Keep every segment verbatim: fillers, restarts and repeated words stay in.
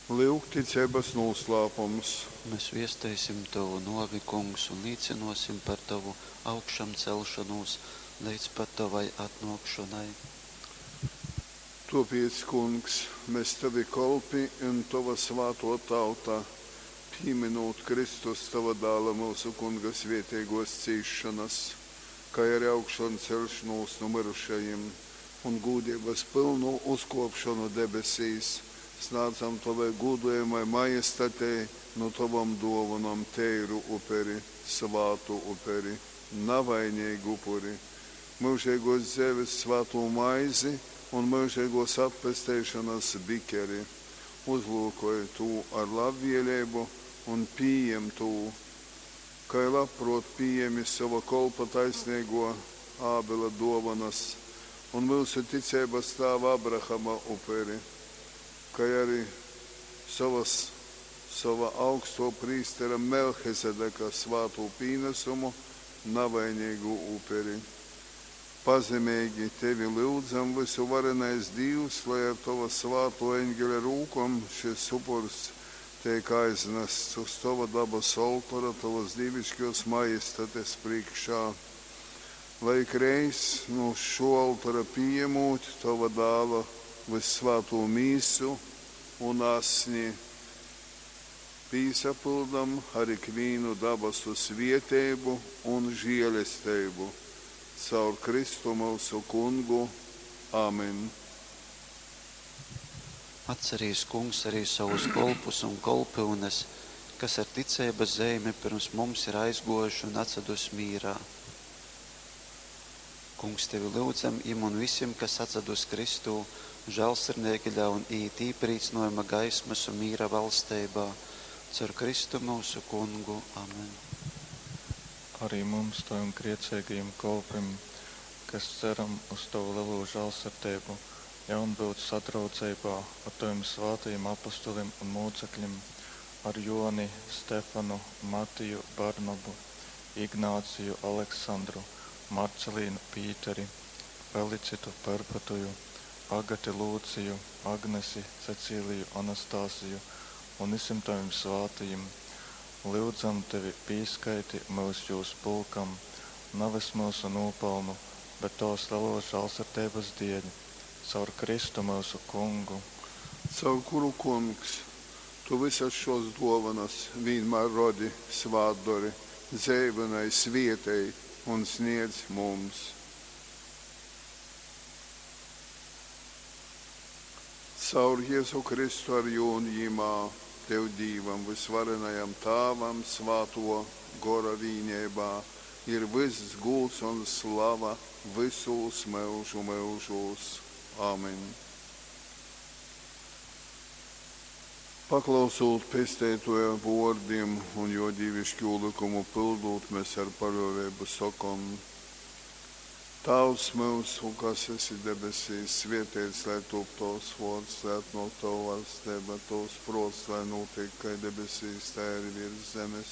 Lyuk ticeibas nūslāpums. Mes viesteisim tovu nōvi, Kungs, un līcynōsim par tovu augšamceļšonūs leidz pat tovai atnōkšonai. Tōpēc, Kungs, mes tovi kolpi un tova svātō tauta, pīmynūt Kristus, tova Dāla, myusu Kunga svēteigōs cīsšonas, kai ari augšanceļšonūs nu myrušajim un gūdeibas pylnu uzkōpšonu debesīs, snādzam tovai gūdojamai Majestatei nu tovom dōvonom teiru uperi, svātu uperi, navaineigu upuri, myužeigōs dzeives svātū maizi un myužeigōs atpesteišonas bikeri. Uzlyukoj tū ar labvēleibu un pījem tū, kai labprōt pījēmi sova kolpa taisneigō Ābela dōvonas un myusu ticeibas tāva Abrahama uperi, kai ari sovas, sova augstō prīstera Melchizedeka svātū pīnasumu, navaineigū uperi. Pazemeigi tevi lyudzam, vysuvarenais Dīvs, lai ar tova svātō eņgeļa rūkom šys upurs teik aiznasts uz tova dabasu oltora tovas dīviškōs Majestates prīškā, lai ikreiz, nu šō oltora pījemūt tova Dāla vyssvātū mīsu un asni, pīsapyldam ar ikvīnu dabasu svieteibu un žielesteibu. Caur Kristu myusu Kungu. Amen. Atcerīs, Kungs, arī sovus kolpus un kolpyunes, kas ar ticeibas zeimi pyrms mums ir aizgōjuši un atsadus mīrā. Kungs, tevi lyudzam, jim un visim, kas atsadus Kristū, žālsirdeigi ļaun iīt īprīcynōjuma gaismas un mīra valsteibā. Caur Kristu myusu Kungu. Amen. Arī mums, tavim grieceigajim kolpim, kas ceram uz tovu lelū žālsirdeibu, ļaun būt sadraudzeibā ar tovim svātajim apostolim un mūcekļim, ar Joni, Stefanu, Matiju, Barnabu, Ignāciju, Aleksandru, Marcelīnu, Pīteri, Felicitu, Perpetuju, Agati Lūciju, Agnesi, Cecīliju, Anastasiju un visiem tavim svātajim. Lyudzam tevi, pīskaiti myus jūs pulkam, nevis mūsu nopelnu, bet tavas lelos žālsirdības dēļ. Caur Kristu mūsu Kungu. Caur kuru, Kungs, tu visas šos dōvanas vīnmār rodi, svātdori, dzeivynoj, svietej un sniedz mums. Caur Jezu Kristu ar jū un jimā, tev Dīvam, vysvarenajam Tāvam, Svātō Gora vīneibā, ir vyss gūds un slava vysūs myužu myužūs. Amen. Paklausūt Pesteitōja vōrdim un jō dīviškū lykumu pyldūt, mes ar paļōveibu sokom: Tāvs myusu, kas esi debesīs, svēteits lai top tovs vōrds, lai atnōk tova vaļsteiba, tovs prōts, lai nūtiek kai debesīs, tai arī virs zemes.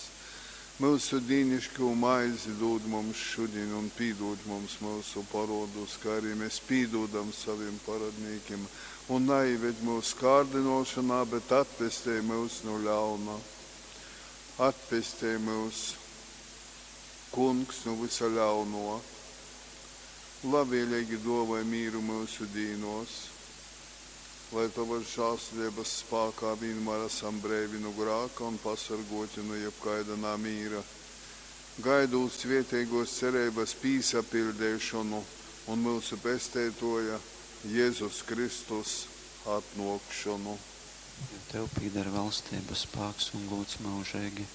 Myusu dīniškū maizi dūd mums šodien un pīdūd mums myusu parodus, kā arī mēs pīdūdam saviem paradnīkim, un neieved mūsu kārdinošanā, bet atpestej mūs no ļauna. Atpestej mūs, Kungs, no visa ļauno. Labvēlīgi dāvāj mīru mūsu dīnos, lai tavas žēlsirdības spēkā vienmēr esam brīvi no grāka un pasargoti no jebkaida namīra. Gaidot svētīgos cerības pīsapildīšanu un mūsu pesteitoja Jēzus Kristus atnākšanu. Jo tev pīder valstība, spēks un gods mūžīgi.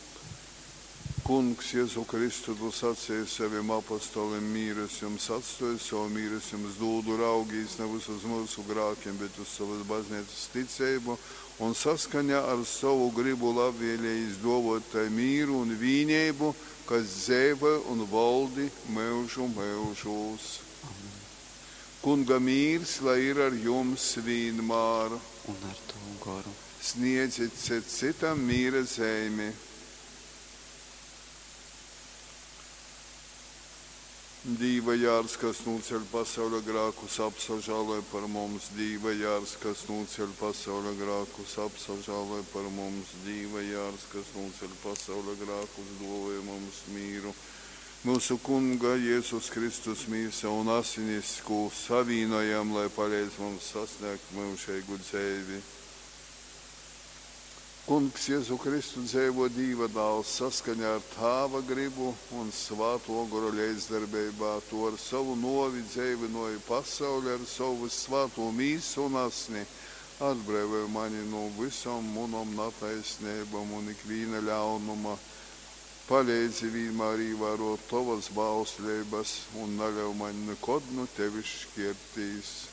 Kungs, Jēzu Kristu, tu sacīji saviem apostolim, mīru es jums atstoju, savu mīru es jums dūdu, raugīs nevis uz mūsu grākiem, bet uz savas baznīcas ticību un saskaņā ar savu gribu labvēlējis dovot tai mīru un vīnību, kas dzīvo un valdi mūžu mūžos. Amen. Kunga mīrs, lai ir ar jums vienmēr. Un ar tavu goru. Sniedziet cits citam mīra zīmi. Dīva jārs, kas nūceļ pasauļa grākus, apsažāloj par mums. Dīva jārs, kas nūceļ pasauļa grākus, apsažāloj par mums. Dīva jārs, kas nūceļ pasauļa grākus, dōvoj mums mīru. Myusu Kunga Jezus Kristus mīsa un asinis, kū savīnojam, lai paleidz mums sasnēgt myužeigu dzeivi. Kungs Jezu Kristu dzeivo Dīva dāls saskaņā ar Tāva gribu un Svātō Gora leidzdarbeibā, Tu ar sovu nōvi dzeivynōji pasauli ar sovu vyssvātū mīsu un asni, atbreivoj mani nu vysom munom nataisneibom un ikvīna ļaunuma. Paleidzi vīnmār īvārōt Tovas bausleibas un naļauj maņ nikod nu Tevis škērtīs.